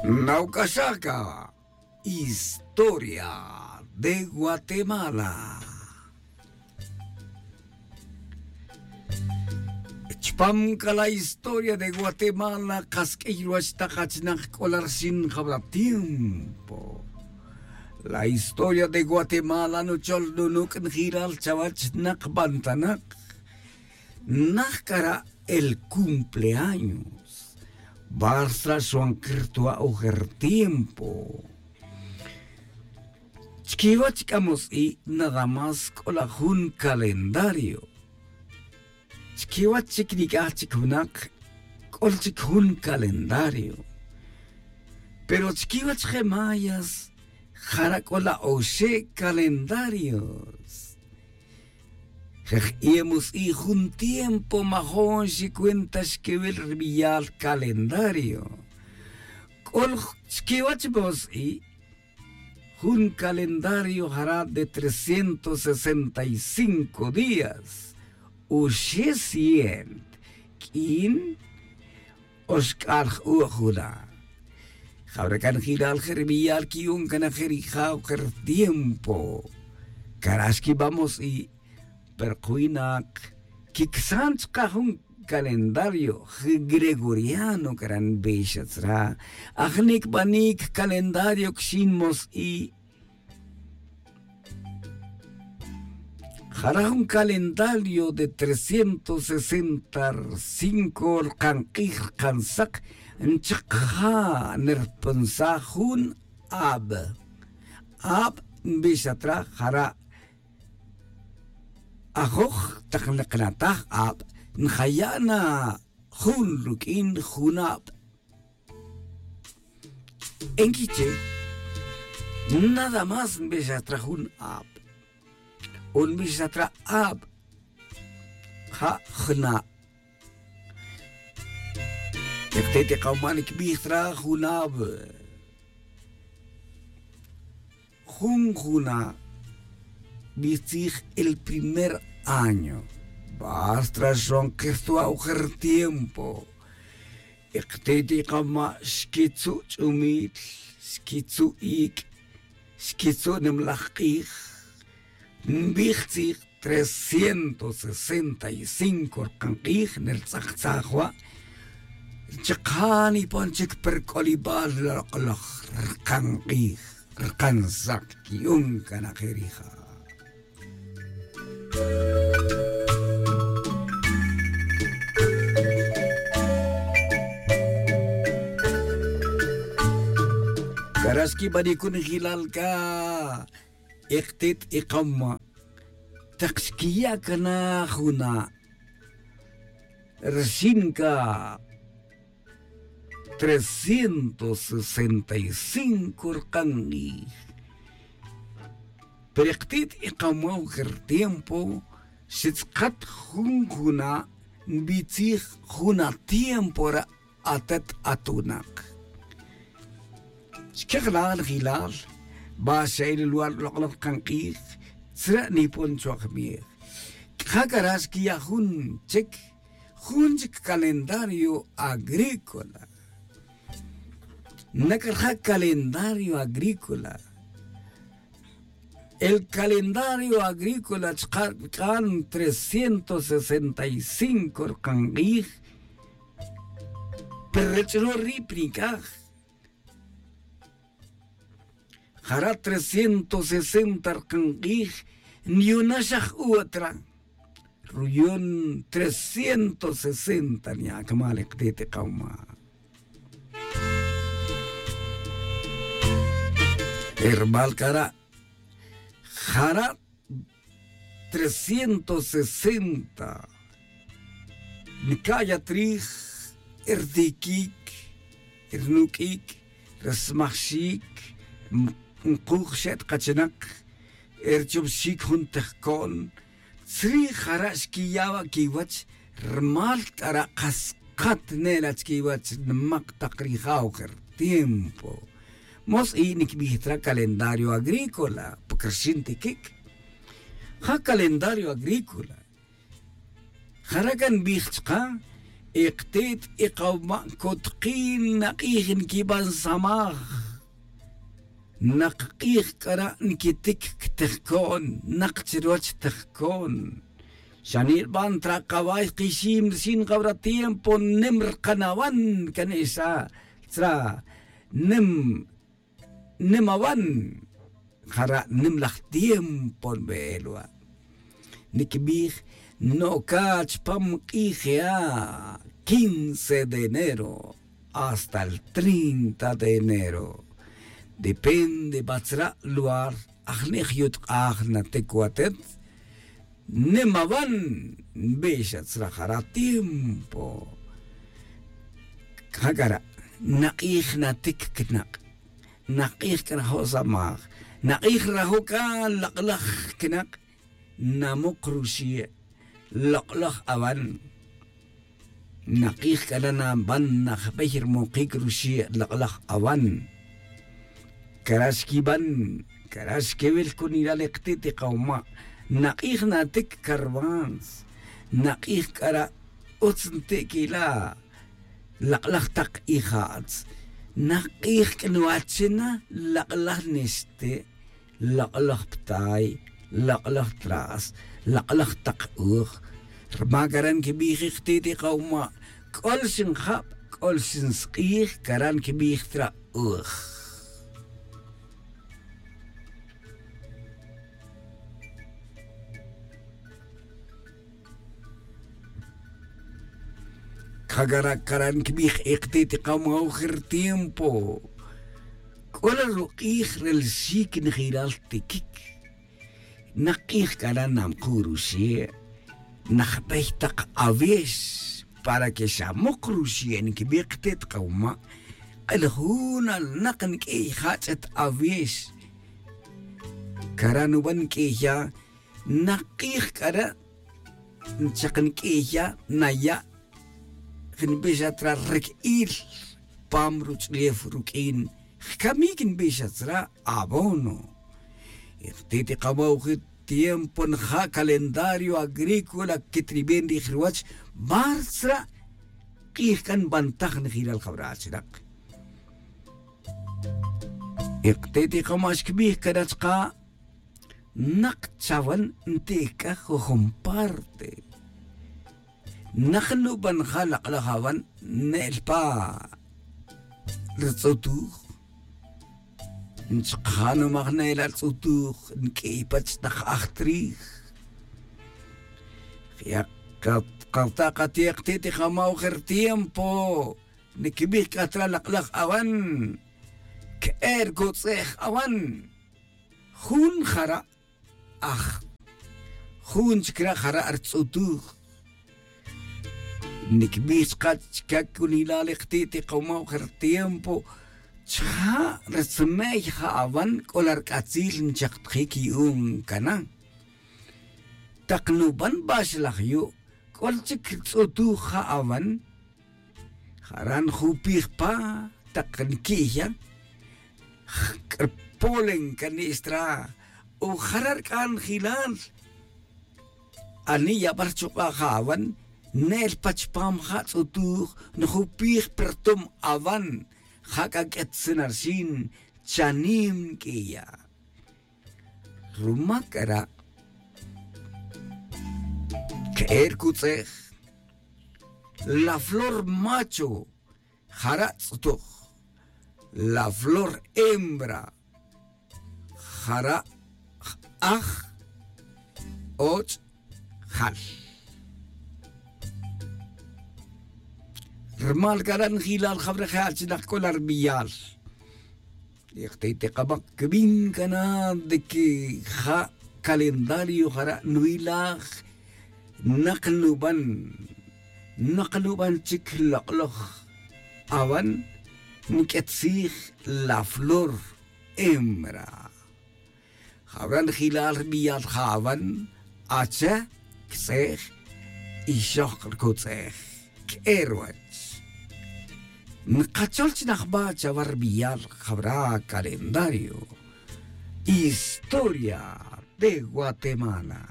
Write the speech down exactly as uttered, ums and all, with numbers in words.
Nauc'axaca historia de guatemala. Chpam ca la historia de guatemala, kas q'uiy ruwach tak achinak c'o la rxin jawra tiempo. La historia de guatemala nuchol nunuc' njiral chawach nak bantanak. Naj cara' el cumpleaños. Barsa xwan kirtua' ojer tiempo. Chquiwach c'a mos'i' nada más c'o la jun calendario. Chquiwach chic nic'aj chic junak c'ol chic jun calendario. Pero chquiwach je mayas jara' c'o la oxe' calendarios. Jej iye mos'i' jun tiempo majon xicuenta xquiwil ribiyal calendario. C'ol chquiwach mos'i' jun calendario jara' de trescientos sesenta y cinco días. Uxe' cien q'uin oxc'al j'u' juna'. Jawra can jilal je' ribiyal quiyun can aje' rija' ojer tiempo. Cara' xquiba' mos'i'. Pero ka winak quicsan chka jun calendario gregoriano cara' nbixa tzra. Aj nicbanic calendario quixin mos'i'. Jara' jun calendario de trescientos sesenta cinco rkan k'ij rkan sak nchak ja' nirpunsaj jun ab. Ab nbixa tzra jara' ajoj tak nqnataj ab njaya' na jun ruq'uin junab. Enquiche nada más nbixatraj jun ab o nbixatraj ab ja' jna'. Ekte' ti kawman kbij traj jun ab. Jun juna' bijtzij el primer año. Basta xon kertua' ojer tiempo. Ekte' ti kawman xkitzu' ch'umil, xkitzu' ic', xkitzu' nimlaj k'ij. Nbijtzij trescientos sesenta y cinco rkan k'ij nirtz'aktzaj wa'. Chaka' nipon chic perk'olibal lok'laj rkan k'ij rkan sak quiyun can aje' rija'. Cara' xquibanic jun jilal ca. Ektit ikama' tak xquiya' cana juna' rxin ca trescientos sesenta y cinco rkan k'ij. Pero ektit ikama' ojer tiempo xtz'akat jun juna' nbitzij jun atiempo ra' atet atunak. Xquejlal jilal ba xa el lugar lok'laj kan k'ij tzre' nipon chuwaj miej. C'a cara' xquiya' jun chic jun chic calendario agrícola. Nac'raja' calendario agrícola. El calendario agrícola chka' rc'an trescientos sesenta y cinco rkan k'ij. Pero rech ro' ri' pa nic'aj jara' trescientos sesenta rkan k'ij niyunax aj uwa tra. Ruyon trescientos sesenta niya' cama' liktit ikama'. Hermal cara' jara' trescientos sesenta nca'yat rij rtiquic, rnuq'uic, rsmajxic nkuj xe' tkachinak, rchupxic jun tejco'n. Tzrij jara' xquiya' wa' quiwach rmal c'ara' kas kat nela' chiquiwach nimak tak rija' ojer tiempo. Mos i' nicbij tra calendario agrícola pa crxin tiquic. Ja calendario agrícola jara' can nbij chka Iktit ikawma' kutkin nak'ij nkiban samaj. Nak k'ij k'ara' nkitik ktejkon nak chruwach tejkon. Xanil ban tra kaway kixim rixin jawra tiempo nim rkanawan kan esa tra nim nim awan. Jara' nim laj tiempo nbe'el wa'. Nikbij no'ka chpam k'ij ya' quince de enero hasta el treinta de enero. Depende batzra' lugar ajni' jyutk'aj natik watet. Nim awan nbix atzra' jara' tiempo. Jak'ara' nak'ij natik knak'. Nak'ij k'ara' jo' samaj. Nak'ij rajo' k'a lak'laj knak'. Namuk ruxi' lok'laj awan. Nak'ij k'ara' naban najbey rmukic ruxi' lok'laj awan. Kara' xquiban kara' xquewil cunilal iktit ikawma'. Nak'ij natic carvans. Nak'ij k'ara' utz nti' quila' lak'laj tak ija'tz. Nak'ij c'a nwachina lak'laj nixti'. Lok'laj ptay. Lok'laj tras. Lok'laj tak uj. Rma kara' nquibij iktit ikawma' c'ol xinjab c'ol xinsk'ij kara' nquibij tra' uj. C'a cara' cara' nquibij iktit ikawma' uj rtiempo. C'o la ruk'ij re li xic njiral tiquic. Nak k'ij k'ara' namku' ruxe' najbey tak awix para que xamuk ruxe' nquibij ktit kawma'. K'el jun alnak nq'uiy jach'et awix. Cara' nuban nq'uiya nak k'ij k'ara' chak nq'uiya naya' nbix atra' riq'uil pam ruch'ulef ruq'uin jcamic nbix atzra' abono. Iktit ikawa'uj tiempo nja' calendario agrícola quetriben rij ruwach bartzra' k'ij c'a nbantaj njelal jawra' chirak. Iktit ikawa'uj xquibij cara' chka' nak chawan nti' c'a jujun parte. Nak nuban ja' lak'laj awan ne'el pa ritz'utuj. Nchkja' numaj ne'el atz'utuj nq'uiy pach tak ajtrij. Ya kata' kati'ik ti' tijamaw jertiempo. Niquibij c'a tra' lak'laj awan. Que'e' ricutz'ej awan. Jun jara' aj jun chic ra' jara' ritz'utuj. Niquibij chka' chica cunilal ikti' tikawaw jertiempo chja' ritzmey ja' awan c'o la rc'atzil nchaktajic yu'un cana. Tak nuban baxlaj yu' c'o la chic ritz'utuj ja' awan. Jara' njupij pa tak nqui'ya. Crpolen cani'xtra o jara' rc'an jilal. Ani' yabal rchuk'a' ja' awan ne'el pa chupam ja' tz'utuj njupij pa ritum awan. Ja' c'a q'uetzin arxin chanim nq'uiya'. Rumac c'a ra' que'e' ricutz'ej la flor macho jara' tz'utuj. La flor hembra jara' j-aj och' jal. Rumal c'a ra' njilal jawre' je' achinak c'o la rbiyal. Ikti' tikamak quibin cana de que ja' calendario jara' nwilaj. Nak nuban nak nuban chic lok'loj awan nq'uetzij la flor hembra. Jawra' njilal rbiyal ja' awan ache, ctz'ej, ixok ricutz'ej que'e' ruwach. Nkachol chi najba' chawa rbiyal jawra' calendario. Historia de guatemala.